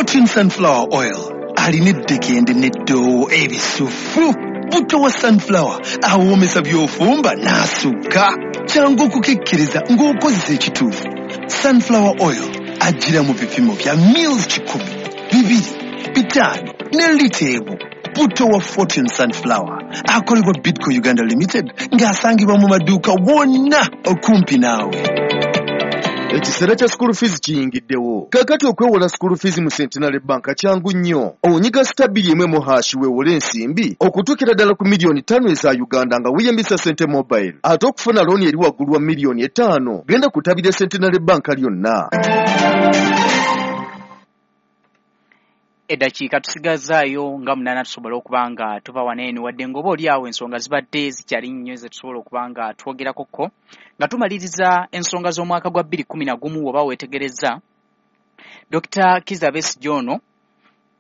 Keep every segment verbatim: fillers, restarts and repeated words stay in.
Fortune Sunflower Oil alina eddekende n'eddoowo ebisufu. Butto wa sunflower awoomesa by'ofumba n'asukka. Kyangu okukikkiriza ng'okozesa ekituufu. Sunflower Oil ajjira mu bipimo bya mils kikumi, bibiri, bitaano ne lita emu. Butto wa Fortune Sunflower akolebwa Bidco Uganda Limited ng'asangibwa mu maduuka wonna okumpi naawe. Ekiseera kya school fees kiyingiddewo. Kaakati okwewola school fees mu Centenary Bank kyangu nnyo. Onyiga star bbiri emu emu hash weewole ensimbi okutuukira ddala ku miliyoni ttaano eza Uganda nga weeyambisa Sente Mobile. Ate okufuna looni eri waggulu wa miliyoni etaano, genda ku ttabi lya Centenary Bank lyonna. Eddakiika tusigazaayo nga munaana tusobole okuba nga tuva wano eno, wadde ng'oba oli awo ensonga zibadde zikyali nnyo ze tusobola okuba nga twogerakokko nga tumaliriza ensonga z'omwaka gwa bbiri kkumi na gumu. Oba weetegerezza Dokita Kizza Besigye ono,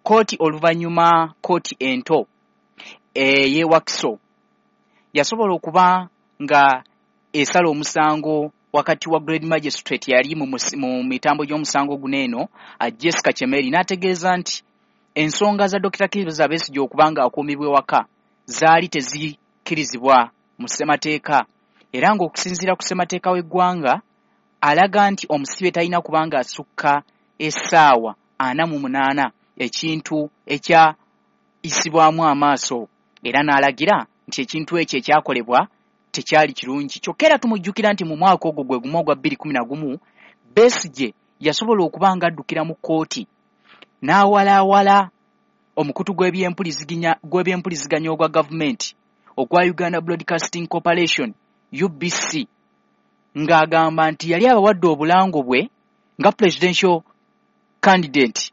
kkooti oluvannyuma kkooti ento ey'e Wakiso yasobola okuba nga esala omusango wakati wa Grade Magistrate yali mu mu mitambo gy'omusango guno eno Jessica Chemeri, n'ategeeza nti ensonga za Dokita Kizza Besigye okuba nga akuumibwa ewaka zaali tezikkirizibwa mu ssemateeka, era ng'okusinziira ku ssemateeka w'eggwanga alaga nti omusibe talina kuba nga asukka essaawa ana mu munaana, ekintu ekyayisibwamu amaaso, era n'alagira nti ekintu ekyo ekyakolebwa tekyali kirungi. Kyokka era tumujjukira nti mu mwaka ogwo gwe gumu ogwa bbiri kkumi na gumu Besigye yasobola okuba nga addukira mu kkooti n'awalaawala omukutu gw'ebyempuliziganya ogwa gavumenti ogwa Uganda Broadcasting Corporation U B C, ng'agamba nti yali abawadde obulango bwe nga presidential candidate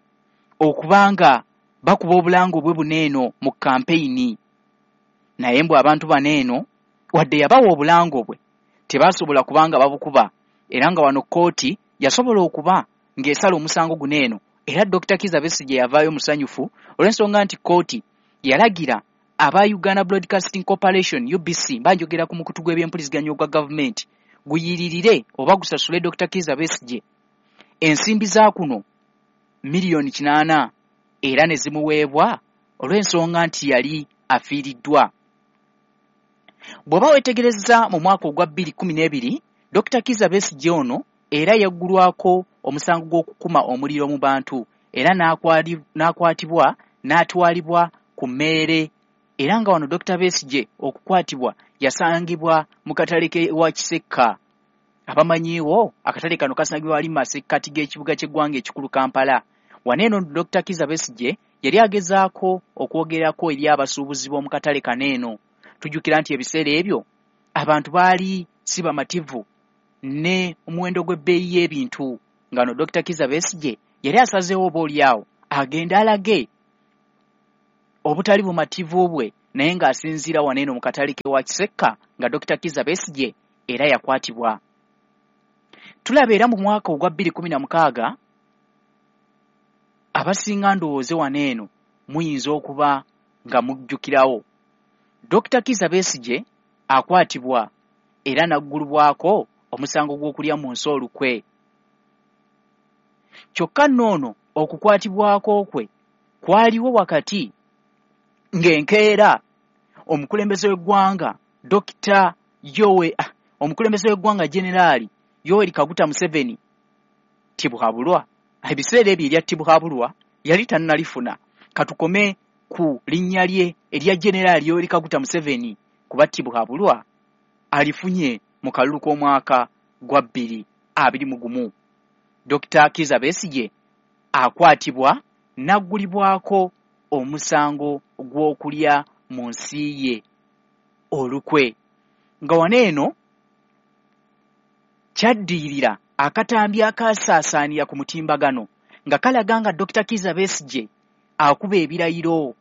okuba nga bakuba obulango bwe buno eno mu kampeyini. Naye mbu abantu bano eno wadde yabawa obulango bwe tebasobola kubanga babukuba, era nga wano kkooti yasobola okuba ng'esala omusango guno eno. Era Dokita Kizza Besigye yavaayo musanyufu olw'ensonga nti kkooti yalagira aba Uganda Broadcasting Corporation U B C, mba njogera ku mukutu gw'ebyempuliziganya ogwa gavumenti, guyiririre oba gusasule Dokita Kizza Besigye ensimbi za kuno miliyoni kinaana, era ne zimuweebwa olw'ensonga nti yali afiiriddwa. Bw'oba weetegerezza mu mwaka ogwa bbiri kkumi n'ebiri, Dokita Kizza Besigye ono era yaggulwako omusango gw'okukuma omuliro mu bantu, era n'akwatibwa n'atwalibwa ku mmeere, era nga wano Dokita Besigye okukwatibwa yasangibwa mu katale ke wa Kisekka. Abamanyiiwo akatale kano kasangibwa wali mu masekkati g'ekibuga ky'eggwanga ekikulu Kampala. Wano eno Dokita Kizza Besigye yali agezaako okwogerako eri abasuubuzi b'omu katale kano eno. Tujjukira nti ebiseera ebyo abantu baali si bamativu ne omuwendo gw'ebbeeyi y'ebintu, nga no Dokita Kizza Besigye yali asazeewo oba oli awo agende alage obutali bumativu bwe, naye ng'asinziira wano eno mu katale ke wa Kisekka nga Dokita Kizza Besigye era yakwatibwa. Tulaba era mu mwaka ogwa bbiri kkumi na mukaaga abasinga ndowooze wano eno muyinza okuba nga mujjukirawo Dokita Kizza Besigye akwatibwa era n'aggulwako omusango gw'okulya mu nsi olukwe. Kyokka nno ono okukwatibwako kwe kwaliwo wakati ng'enkeera omukulembeze w'eggwanga Dokita Yowe omukulembeze w'eggwanga Generaali Yoweri Kaguta Museveni Tibuhaburwa, ebiseera ebyo erya Tibuhaburwa yali tannalifuna, katukome ku linnya lye erya Generaali Yoweri Kaguta Museveni kuba Tibuhaburwa alifunye mu kalulu k'omwaka gwa bbiri abiri mu gumu. Dokita Kizza Besigye akwatibwa n'aggulibwako omusango gw'okulya mu nsi ye olukwe, nga wano eno kyaddiirira akatambi akaasaasaanira ku mutimbagano nga kalaga nga Dokita Kizza Besigye akuba ebirayiro,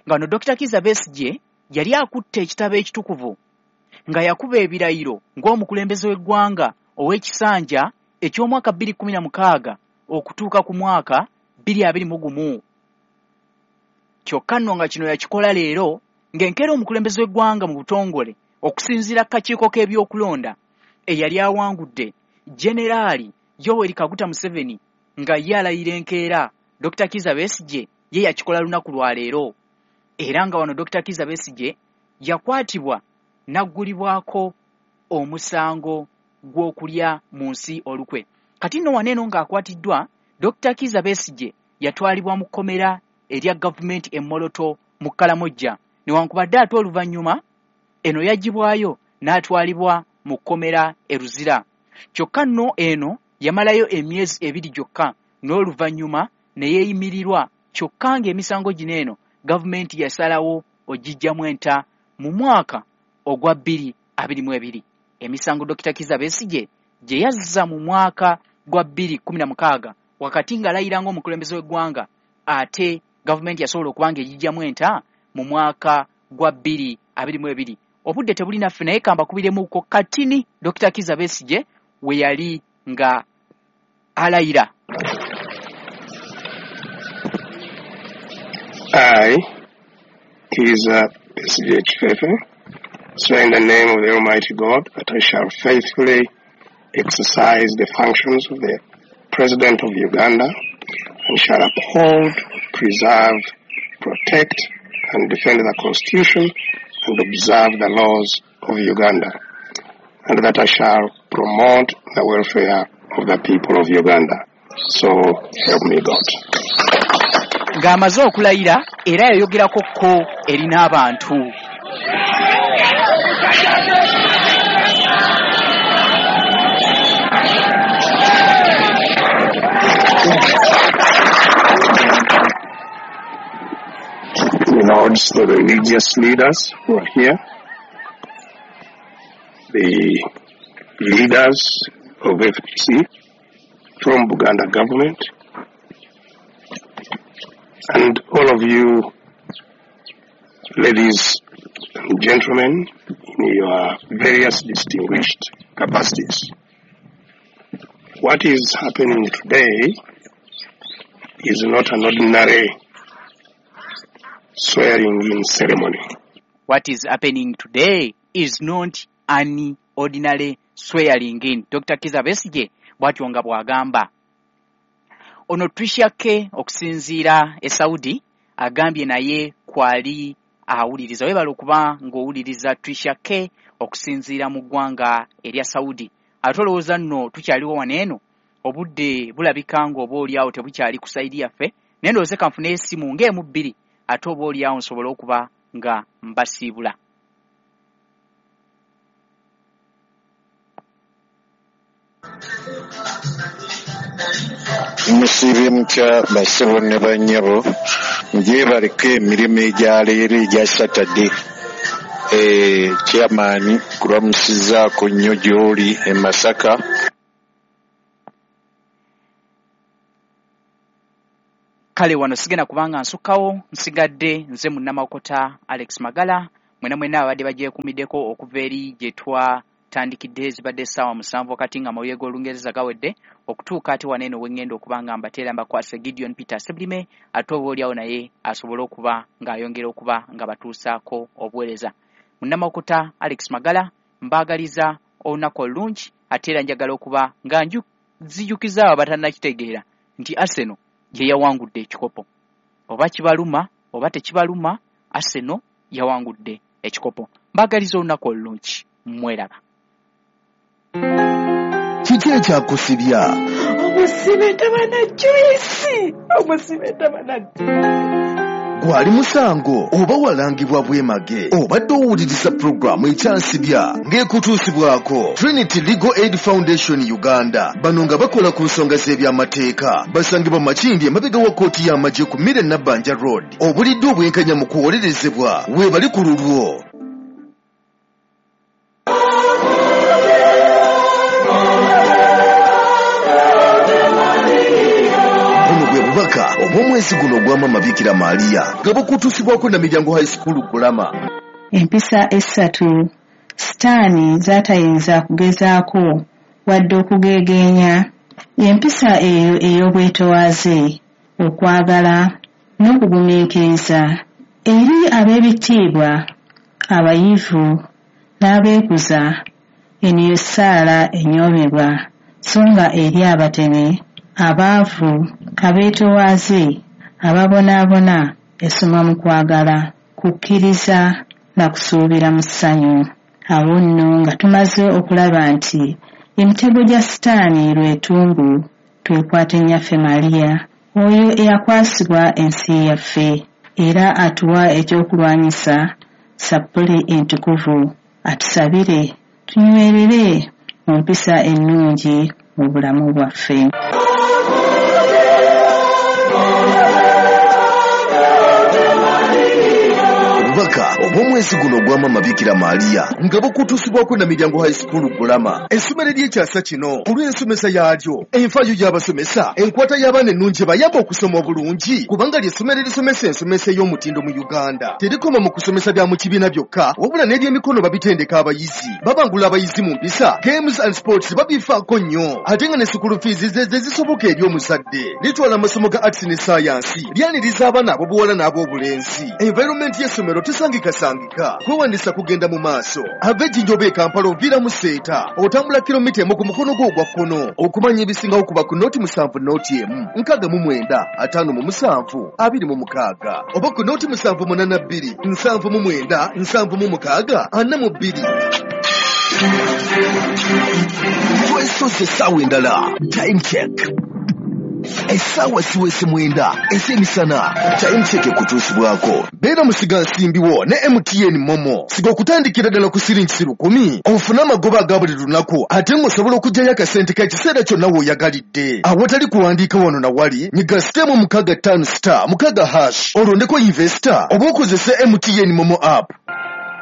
nga no Dokita Kizza Besigye yali akutte ekitabo ekitukuvu nga yakuba ebirayiro ng'omukulembeze w'eggwanga ow'ekisanja eky'omwaka bbiri kkumi na mukaaga okutuuka ku mwaka bbiri abiri mu gumu. Kyokka nno nga kino yakikola leero ng'enkeera omukulembeze w'eggwanga mu butongole okusinziira ku kakiiko k'ebyokulonda eyali awangudde Generaali Yoweri Kaguta Museveni nga ye alayira enkeera Dokita Kizza Besigye ye yakikola lunaku lwa leero. Era nga wano Dokita Kizza Besigye yakwatibwa n'aggulibwako omusango gw'okulya mu nsi olukwe. Kati nno wano eno ng'akwatiddwa, Dokita Kizza Besigye yatwalibwa mu kkomera erya gavumenti e Moroto mu Kalamojja. Newankubadde ate oluvannyuma eno yaggyibwayo n'atwalibwa mu kkomera e Luzira. Kyokka nno eno yamalayo emyezi ebiri gyokka n'oluvannyuma ne yeeyimirirwa. Kyokka ng'emisango gino eno gavumenti yasalawo ogiggyamu enta mu mwaka ogwa bbiri abiri mu ebiri. Emisango Dokita Kizza Besigye gye yazza mu mwaka gwa bbiri kkumi na mukaaga wakati ng'alayira ng'omukulembeze w'eggwanga, ate gavumenti yasobola okuba ng'egiggyamu enta mu mwaka gwa bbiri abiri mu ebiri. Obudde tebuli naffe, naye kambakubiremuko katini Dokita Kizza Besigye we yali nga alayira. I, Kizza Besigye Kifefe, swear in the name of the Almighty God that I shall faithfully exercise the functions of the President of Uganda and shall uphold, preserve, protect, and defend the Constitution and observe the laws of Uganda, and that I shall promote the welfare of the people of Uganda. So help me God. Ng'amaze okulayira era yayogerako ko eri n'abantu. Lords, the religious leaders who are here, the leaders of F D C from Buganda government, and all of you ladies and gentlemen in your various distinguished capacities. What is happening today is not an ordinary swearing-in ceremony. What is happening today is not an ordinary swearing-in. Dokita Kizza Besigye bw'atyo nga bw'agamba. Ono Tricia K okusinziira e Saudi agambye naye kwali awuliriza. Weebale okuba ng'owuliriza Tricia K okusinziira mu ggwanga erya Saudi. Ate olowooza nno tukyaliwo wano eno, obudde bulabika ng'oba oliawo tebukyali ku sayidi yaffe, naye ndowooza kanfune essimu ng'emu bbiri ate oba oliawo nsobole okuba nga mbasiibula. Musiibye mutya bassebo ne bannyabo, ngyebaleko emirimu egya leero egya Saturday. Eh, chairman kulamusizaako nnyo gy'oli e Masaka. Kale wano sigenda kubanga nsukkawo, nsigadde nze munnamakota Alex Magala. Mwena mwena abadde bagyekuumiddeko okuva eri gye twatandikidde, zibadde essaawa musanvu wakati nga amawulire g'Olungereza gawedde, okutuuka ate wano eno we ŋŋenda okuba nga mbateera mbakwase Gideon Peter Sebulime, ate oba oliawo naye asobole okuba ng'ayongera okuba nga batuusaako obuweereza. Munnamakota Alex Magala mbaagaliza olunaku olulungi, ate era njagala okuba nga nzijukiza abo abatannakitegeera nti Arsenal ye yawangudde ekikopo. Oba kibaluma oba tekibaluma, Arsenal yawangudde ekikopo. Mbaagaliza olunaku olulungi, mweraba. Kiki ekyakusibya? Omusibe tabana juice, omusibe tabana. Gwali musango oba walangibwa bwemage, obadde owuliriza pulogulaamu ekyansibya ng'ekutuusibwako Trinity Legal Aid Foundation Uganda. Bano nga bakola ku nsonga z'ebyamateeka, basangibwa Makindye emabega wa kkooti y'amagye ku Mire Nabbanja Road. Obulidde obwenkanya mu kuwolerezebwa weebali ku lulwo. Bubaka obw'omwezi guno ogwa Maama Bikira Maria nga bukutuusibwako Namiryango High School Kulama. Empisa essatu Sitaani z'atayinza kugezaako wadde okugeegeenya. Empisa eyo ey'obwetoowaze, okwagala n'okugumiikiriza eri ab'ebitiibwa, abayivu n'abeekuza. Eno ye ssaala enyoomebwa, so nga eri abatene, abaavu Abeetowaaze, ababonaabona, esoma mu kwagala, kukkiriza na kusuubira mu ssanyu. Awo nno nga tumaze okulaba nti emitego gya Sitaani lwetumbu, twekwate Nnyaffe Maria, oyo eyakwasibwa ensi yaffe, era atuwa ekyokulwanyisa sappuli entukuvu, atusabire tunywerere mu mpisa ennungi mu bulamu bwaffe. Obubaka obw'omwezi guno ogwa Maama Bikira Maria nga bukutuusibwako na Miryango High School Gulama, essomero ery'ekyasa kino olw'ensomesa yaalyo, enfaayo y'abasomesa, enkwata y'abaana ennungi bayamba okusoma obulungi, kubanga ly'essomero erisomesa ensomesa ey'omutindo mu Uganda. Terikoma mu kusomesa bya mu kibiina byokka, wabula n'ebyemikono babitendeka abayizi, babangula abayizi mu mpisa, games and sports babifaako nnyo, ate nga ne school fees ze ze zisoboka eri omuzadde. Litwala amasomo ga arts ne science, lyaniriza abaana ab'obuwala n'ab'obulenzi. Environment y'essomero tesangikasangika, kwewandiisa kugenda mu maaso. Ava Ejjinja oba e Kampala oviira mu Seeta, otambula kilomita emu ku mukono gwo ogwa kkono. Okumanya ebisingawo kuba ku nooti musanvu nooti emu nkaaga mu mwenda ataano mu musanvu abiri mu mukaaga oba ku nooti musanvu munaana bbiri nsanvu mu mwenda nsanvu mu mukaaga ana mu bbiri. Twesoze essaawa endala, time check. Essaawa ziweze mwenda ez'emisana. Time check ekutuusibwako Beera musigansimbi wo ne M T N Momo. Siga okutandikira ddala ku siringi lukumi ofune amagoba aga buli lunaku, ate ng'osobola okuggyayo akasente k'ekiseera kyonna w'oyagalidde. Awatali kuwandiika wano na wali, nyiga sitemu mukaaga ttaano star mukaaga hash olondeko investor oba okozese M T N Momo app.